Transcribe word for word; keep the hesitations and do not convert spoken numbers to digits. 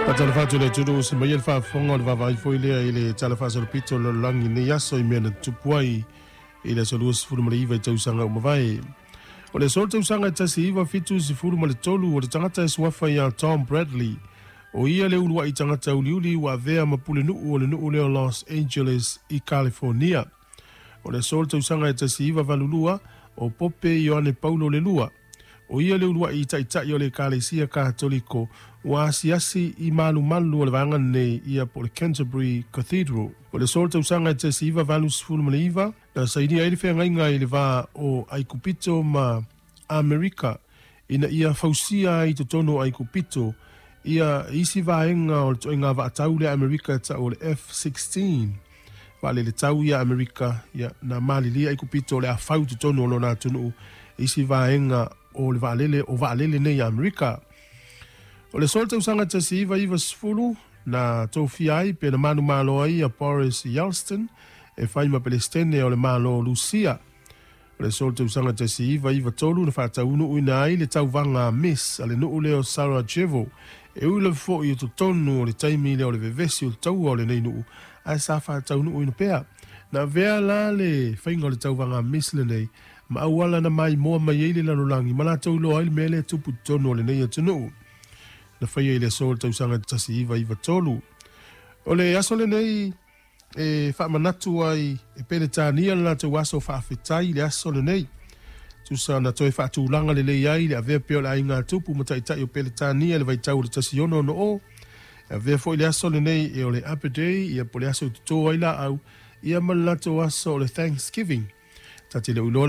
Faatalofa atu i le atunuu se maia le faafofoga o le vaavaai foi lea i le Tala Faasolopito o le Lalolagi i lenei aso i mea na tutupu ai i le aso luasefulu ma le iva i tausaga ua mavae. O le aso le tausaga e tasi iva fitu sefulu ma le tolu o le tagata e suafa ia Tom Bradley, o ia le uluai tagata uliuli ua avea ma pulenuu o le nuu lea o Los Angeles i California. O le aso le tausaga e tasi iva valu lua o Pope Ioane Paulo le Lua, o ia le uluai taitai o le Ekalesia Katoliko ua asiasi i malumalu o le vaega lenei ia po o le Canterbury Cathedral. O le aso le tausaga e tasi iva valu sefulu ma le iva na sainia ai le feagaiga i le va o Aikupito ma Amerika ina ia fausia ai i totonu o Aikupito ia isi vaega o le ituaiga vaatau lea a Amerika e tau o le F sixteen. Vaalele tau ia Amerika ia na malilia Aikupito o le a fau i totonu o lona atunuu isi vaega o le vaalele o vaalele nei a Amerika. O le aso le tausaga tasi iva iva sefulu na tofia ai pe na manumalo ai ia Boris Yeltsin e fai ma Pelestene o le Malo o Lusia. O le aso le tausaga tasi iva iva tolu na faataunuuina ai le tauvaga a Miss a le nuu lea o Sarajevo e ui lava foi i totonu o le taimi lea o le vevesi o le taua o lenei nuu ae sa faataunuuina pea. Na avea la le faiga o le tauvaga a Miss lenei ma auala na maimoa mai ai le lalolagi ma latou iloa ai le mea lea e tupu i totonu o lenei atunuu. Na faia i le aso o le tausaga tasi iva iva tolu. O le aso lenei e faamanatu ai e Peretania le latou aso faafetai i le aso lenei. Tusa na toe faatulaga lelei ai le avea pea o le aiga tupu ma taitai o Peretania i le vaitau o le tasi ono ono o. E avea foi le aso lenei e o le Arbor Day, ia po o le aso e toto ai laau, ia ma le latou aso o le Thanksgiving. Ta te le o iloa